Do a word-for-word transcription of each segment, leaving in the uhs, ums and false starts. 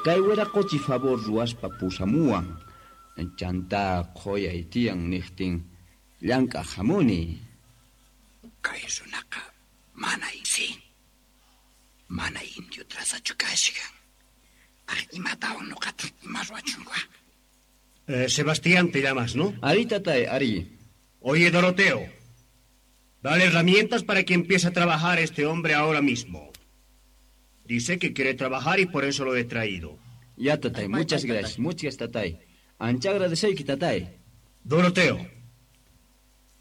Kay wiraqochi favor ruwaspa pusamuwan. Chanta qhoyay tiyan niqtin llank'aq hamuni. Kay runaqa mana si. Mana indio trazachu kashkan. Aj imatawan nuqata ima ruwachunqa. Eh, Sebastián te llamas, ¿no? Ari, tatay, ari. Oye, Doroteo, dale herramientas para que empiece a trabajar este hombre ahora mismo. Dice que quiere trabajar y por eso lo he traído. Ya, tatay, muchas gracias, muchas tatay. Ancha agradeceyki, tatay. Doroteo,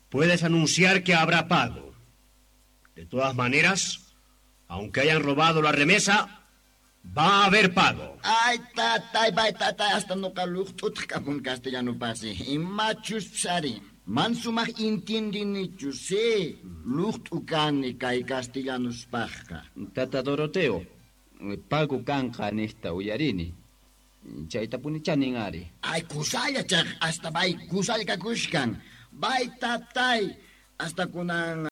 puedes anunciar que habrá pago. De todas maneras, aunque hayan robado la remesa, va a haber pago. Ay, tatay, bay, tatay, hasta nuqa luqt'utaq kapun castellano pasi. Imachus psari. Mansumaq intindinichu, sí. Luqt'u kani kay castellanuspaqqa. Tata Doroteo, pago kanqa niqta uyarini. Chaytapuni chanin ari. Ay, kusalla chaq, hasta bay, kusalla kakushkan. Bay, tatay, hasta kunan...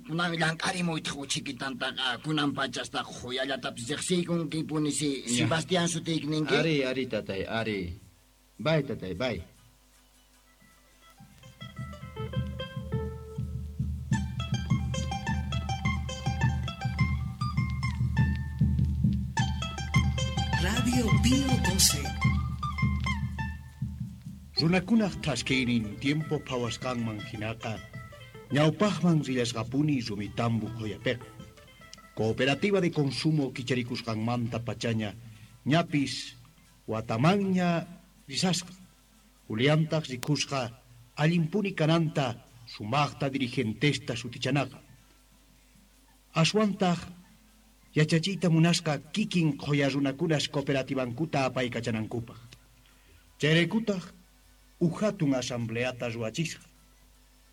Kunan llank'arimuytaq uchikitantaqa, kunan pachasta qhuyallatapis riqsiykunkipuni si Sebastián sutiyki ninki. Ari, ari, tatay, ari. Bay, tatay, bay. Radio Pío doce. Runakunaq thaskiynin tiempo phawasqanman hinaqa ñawpaqman rillasqapuni Rumitambo qhuyapiqa. Cooperativa de consumo kicharikusqanmanta pachaña ñapis watamanña risasqa. Juliantaq rikusqa allinpuni kananta sumaqta dirigentesta sutichanaqa. Aswantaq yachachiyta munasqa kikin qhuya runakunas cooperativankuta apaykachanankupaq. Chayraykutaq uj hatun asambleata ruwachisqa.